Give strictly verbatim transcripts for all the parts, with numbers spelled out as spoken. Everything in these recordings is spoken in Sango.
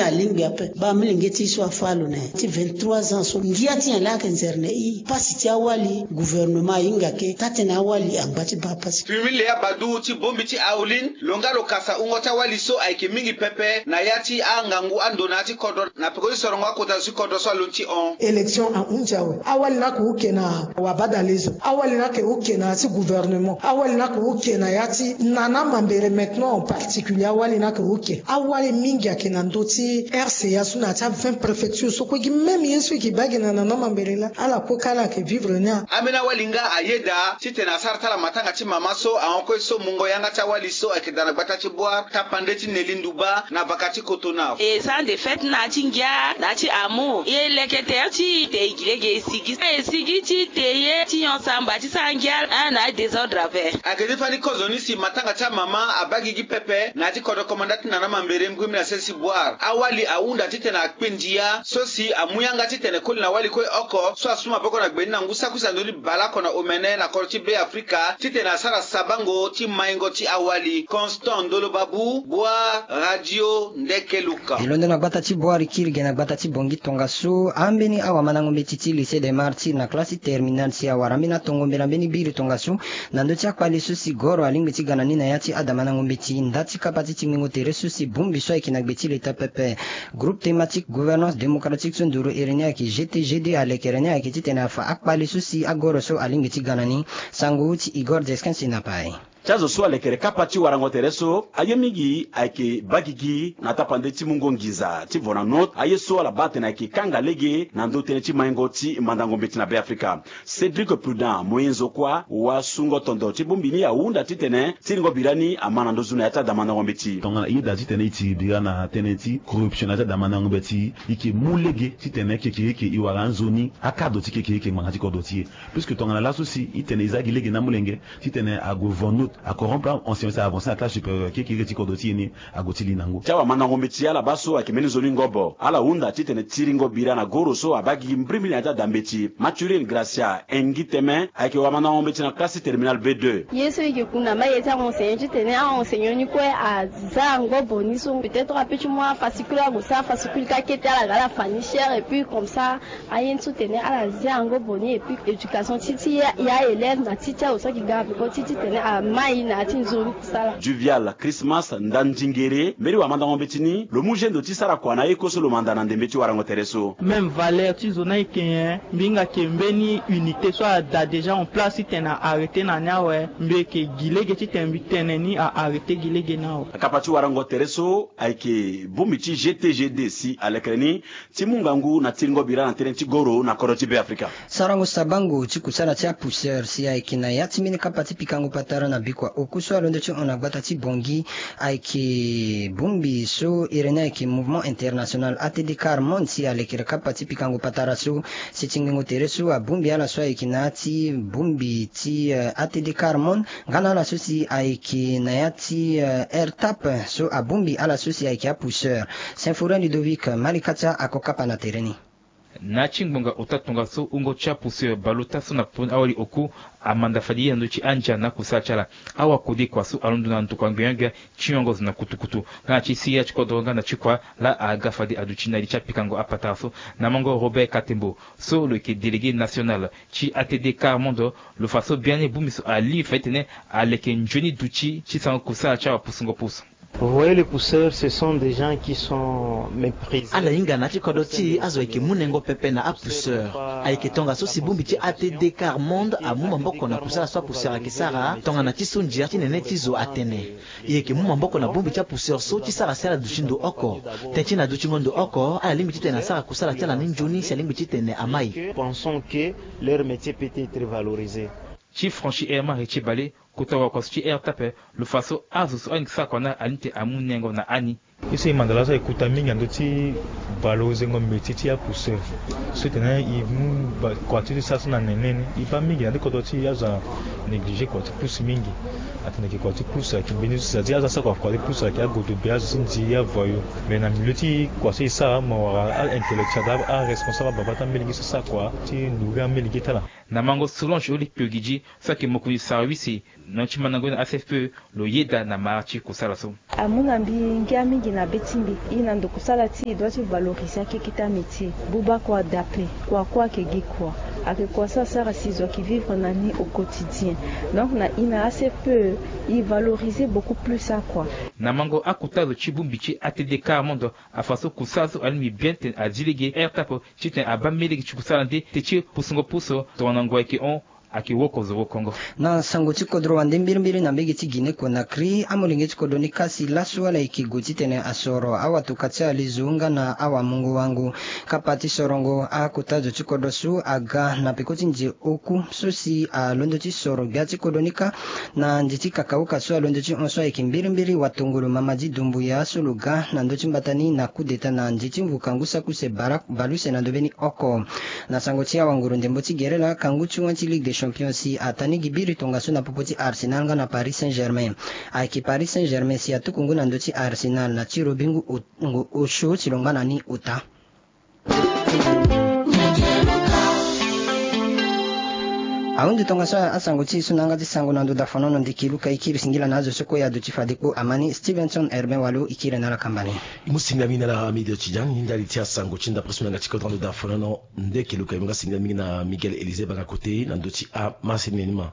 Alingbi ape baa milenge ti e so afâ lo na nyen ti vingt-trois ans so ngia ti nyen laa ayeke nzere na e? Pasi ti awali gouvernement ahinga ke taa-tënë awali angba ti baa pasi. Fimile abadu ti bongbi ti Aulin lo nga lo kasa wungo ti awali so ayeke mingi pepe na ya ti angangu ando na ya ti kodro na peko ti sorongo akota zo ti kodro so alondo ti hon. Élection ahunzi awe. Awali ni ayeke oke na wabadalezo. Awali ni ayeke oke na ya ti gouvernement. Awali ni ayeke oke na ya ti Nana Mambere maintenant en particulier. Awali ni ayeke oke. Awali mingi ayeke na ndö ti R C A so na ya ti avingt préfecture so kue gi même ye so e yeke baa gi na Nana Mambere laa ala kue ka ala yeke vivre ni. Ambeni awali nga ayeda titene asara ti ala matanga ti mama so ahon kue so mungo yanga ti awali so ayeke daa na gbata ti Bouar tapande ti Nelly Ndouba na vaka ti Cotonou. E sara nde fête na ya ti ngia na ya ti amour. E leke tere ti e te e gi lege e sigi e sigi ti te ye ti nyon samba ti sara ngia na ya désordre ape. Ayeke ti fani kozo ni si matanga ti amama abaa gigi pepe na ya ti kodro komanda ti Nana Mambere ngu mbi na sese ti Bouar. Awali ahunda titene akpe ndia so si amu yanga titene koli na wali kue oko so asu maboko na gbe ni na ngu saki use na ndö ti baleoko na omene na kodro ti Be Afrika titene asara sabango ti maingo ti awali. Constant Ndolo Babu, Bouar, Radio Ndeke Luka. E londo na gbata ti Bouar e kiri ge na gbata ti Bangui tongaso ambeni awamandango mbeti ti Lycée des Martyrs na classe ti terminale si awara ambeni atongo mbela mbeni biri tongaso na ndö ti akpale so si goro alingbi ti ga na ni na ya ti adamandango mbeti nda ti kapa ti tingbingo tere so si bongbi so ayeke na gbe ti leta pepe. Groupe thématique gouvernance démocratique so nduru iri ni ayeke G T G D alekere ni ayeke titene afa akpale so si agoro so alingbi ti ga na ni. Sango ti Igor Desquin si na pai. Ti azo so alekere kapa ti warango tere so aye mingi ayeke baa gigi na tapande ti mungo nginza ti Vonanote aye so ala baa atene ayeke kanga lege na ndö tënë ti maingo ti mandango mbeti na Be Afrika. Cédric Prudent moyen zo kuâ wasungo tondo ti bongbi ni ahunda titene tiringo bira ni ama na ndö zu na ya ti adamandango mbeti. Tongana e yeda titene e tiri bira na tënë ti corruption na ya ti adamandango mbeti e yeke mu lege titene kekereke e wara anzoni akado ti kekereke ngbanga ti kodro ti e. Puisque tongana laso si e tene e za gi lege na amolenge titene ague Vonanote acorrompre ancien so avancer na classe supérieure kekereke ti kodro ti e ni ague ti li na ngu. Ti awamandango mbeti ala baa so ayeke mbeni nzoni ngobo ala hunda titene tiringo bira na goro so abaa gigi mbirimbiri na ya ti adambeti. Mathurin Gracia Engi Teme ayeke wamandango mbeti na classe ti terminale B deux. Ye so e yeke ku na maye ti aenseignant titene aenseignant ni kue aza ngobo ni so peut-être ape ti mu afascule ague sara afascule ka kete ala ga ala fa ni cher et puis comme ça aye ni so tene ala zia yango boni et puis éducation ti ti ya, ya élève na ti ti azo so ayeke ga na peko ti titene amai na ya ti nzoni kusala. Duvial Christmas Ndandingere mbeni wamandango mbeti ni lo mu gendo ti sara kua na ye kue so lo manda na ndembe ti warango tere so. Même valeur ti zo ni ayeke nyen? Mbi hinga yeke mbeni unité so ada déjà en place titene a arrêter na ni awe. Mbi yeke gi lege titene mbi tene ni a arrêter gi lege ni awe. Akapa ti warango tere so ayeke bongbi ti G T G D si alekere ni ti mu ngangu na tiringo bira na tënë ti goro na kodro ti Be Afrika. Sarango sabango ti kusala ti apousseur si ayeke na ya ti mbeni kapa ti pikango patara na bikua oku so alondo ti hon na gbata ti Bangui ayeke bongbi so iri ni ayeke Mouvement International A T D Quart Monde si alekere kapa ti pikango patara so. Si tingbingo tere so abongbi ala so ayeke na ya ti bongbi ti, eh, A T D Quart Monde. Nga na ala so si ayeke na ya ti, eh, R T A P so abongbi ala so si ayeke apousseur. Symphorien Ludovic Malikatia ako kapa na tere ni. Na ya ti ngbonga ota tongaso wungo ti apousseur baleota so na popo ni awali oku amanda fade ye na ndö ti andia na akusala ti ala. Awakode kua so alondo na ndokua ngbene gbia ti nyongo zo na kutukutu nga na ti siriri ti kodro nga na ti kua laa aga fade aduti na li ti apikango apatara so. Na mango Robert Katembo so lo yeke délégué national ti A T D Quart Monde, lo fa so biani bongbi so alingbi fa titene aleke nzoni duti ti sango kusala ti awapusungo pusu. Vous voyez, les pousseurs, ce sont des gens qui sont méprisés. Ala hinga na ya ti kodro ti e azo ayeke mu nengo pepe na apousseur. Ayeke tongaso si bongbi ti A T D Quart Monde amu maboko na kusala so apousseur ayeke sara tongana ti so ndia ti nene ti zo atene. E yeke mu maboko na bongbi ti apousseur so ti sara si ala duti ndo oko. Tënë ti na dutingo ndo oko ala lingbi titene asara kusala ti ala ni nzoni si alingbi titene amai. Pensons que leur métier peut être valorisé. Ti Franchi Herman Retchie Bale, kota wakua so ti R T A P, lo fa so azo so ayeke sara kua na ala ni tene amu nengo na ani. Ye so e manda laso ayeke kota mingi na ndö ti valorizengo métier ti apousseur. So tene e mu kua ti e ti sara so na nene ni, e baa mingi na ndö kodro ti e azo anégligé kua ti pousse mingi. Atene yeke kua ti pousse ayeke mbeni so, c'est-à-dire azo asara kua, kua ti pousse ayeke agodo be, azo ti nzi, avoyou. Mais na milieu ti kua so e sara, mo wara a-intellectuel, aresponsable ababa ti amolenge so asara kua ti nourrir amolenge ti ala. Na mango Solange Oli Kpiogidi so ayeke mokonzi service Na ti mandango ni na A C F P E lo yeda na mara ti kusala so. Amu na mbi ngia mingi na be ti mbi. E na ndo kusala ti e doit ti valoriser akeke ti amétier. Buba kua daa ape. Kua kue ayeke gi kua. Ayeke kua so asara si zo ayeke vivre na ni au quotidien. Donc na e na A C F P E, e valoriser beaucoup plus akua. Na mango akota zo ti bongbi ti A T D Quart Monde, afa so kusala so alingbi bien titene azi lege air tape titene abaa mbeni lege ti kusala nde te ti pusungo puso tongana ngoi ayeke hon. Ayeke woko zo woko ngo. Na sango ti kodro wande mbirimbiri na mbege ti Guinée Conakry, amolenge ti kodro ni kasi laso ala yeke gue titene asoro awatuka ti alizu nga na awamungo-wango. Kapa ti sorongo akota zo ti kodro so aga na peko ti nze oku so si alondo ti soro gbia ti kodro ni kâ. Na nze ti kakaoka so alondo ti hon so ayeke mbirimbiri watongolo Mamadi Doumbouya so lo ga na ndö ti mbata ni na coup d'État na nze ti mvuka ngu saki use bara bale use na ndö mbeni oko. Na sango ti awanguru ndembo ti gere laa, kangu ti wan ti Ligue des Champions si atani gi biri tongaso na popo ti Arsenal nga na Paris Saint-Germain. Ayeke Paris Saint-Germain si atuku ngu na ndö ti Arsenal na tiro bingu o- ngu osio ti lo ngba na ni ota. Ahundu tongaso asango ti e so na yanga ti sango na ndo dafonono ndeke luka e kiri singila na azo so kue e aduti fade kpo amani. Stevenson Herbin Walo e kiri na ala kamba ni. E mu singila mingi na ala Hamido Tidiane, e ndali ti asango ti ndapre so na yanga ti kodro na ndo dafonono ndeke luka. E mu nga singila mingi na Miguel Élisée Banga Kote na ndö ti amasini ni ma.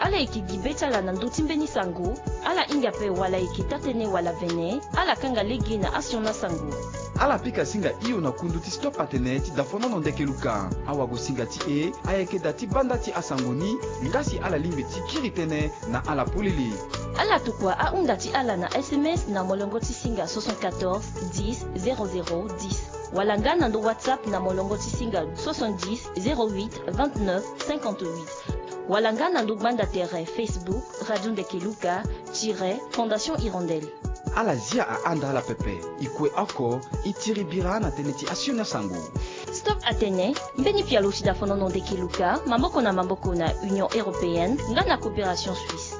Ala yeke gi be ti ala na ndö ti mbeni sango. Ala hinga ape wala e yeke taa-tënë wala vene, ala kanga lege na asioni asango. Ala pika singa hio na kundu ti Stop Atene ti dafonono ndeke luka. Awagosinga ti e ayeke da ti banda ti asango ni, nga si ala lingbi ti kiri tënë na ala polele. Ala tokua ahunda ti ala na S M S na molongo ti singa soixante-quatorze dix zéro zéro dix. Wala nga na ndo WhatsApp na molongo ti singa soixante-dix zéro huit vingt-neuf cinquante-huit. Wala nga na ndo gbanda tere Facebook Radio Ndeke Luka tiret Fondation Hirondelle. Ala zia ahanda ala pepe. E kue oko, e tiri bira na tënë ti asioni asango. Stop Atene, mbeni pialo ti dafonono ndeke luka, maboko na maboko na Union Européenne nga na Coopération Suisse.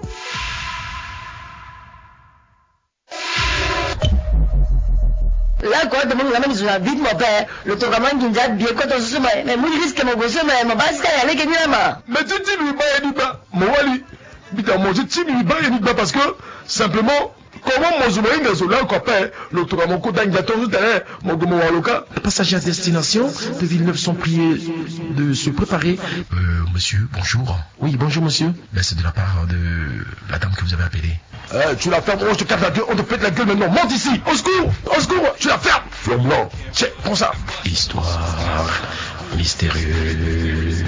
Là quoi, de mon la même journée vite mon père, le tour à mangi ndia bien quand on se met mais mon risque mon besoin mais mon bas ka ya leke ni ma. Mais tu dis lui ba ya ni ba mo wali. Bita mo ti ti ni ba ya ni ba parce que simplement comment mo zo mo hinga zo là quoi père, le tour à mon ko dangi ton terrain, mo go mo waloka. Passage à destination de Villeneuve sont priés de se préparer. Euh, monsieur, bonjour. Oui, bonjour monsieur. Ben, c'est de la part de la dame que vous avez appelée. Eh, tu la fermes, on te casse la gueule, on te pète la gueule maintenant. Monte ici. Au secours, au secours, tu la fermes. Flambe là. Tiens, prends ça. Histoire mystérieuse.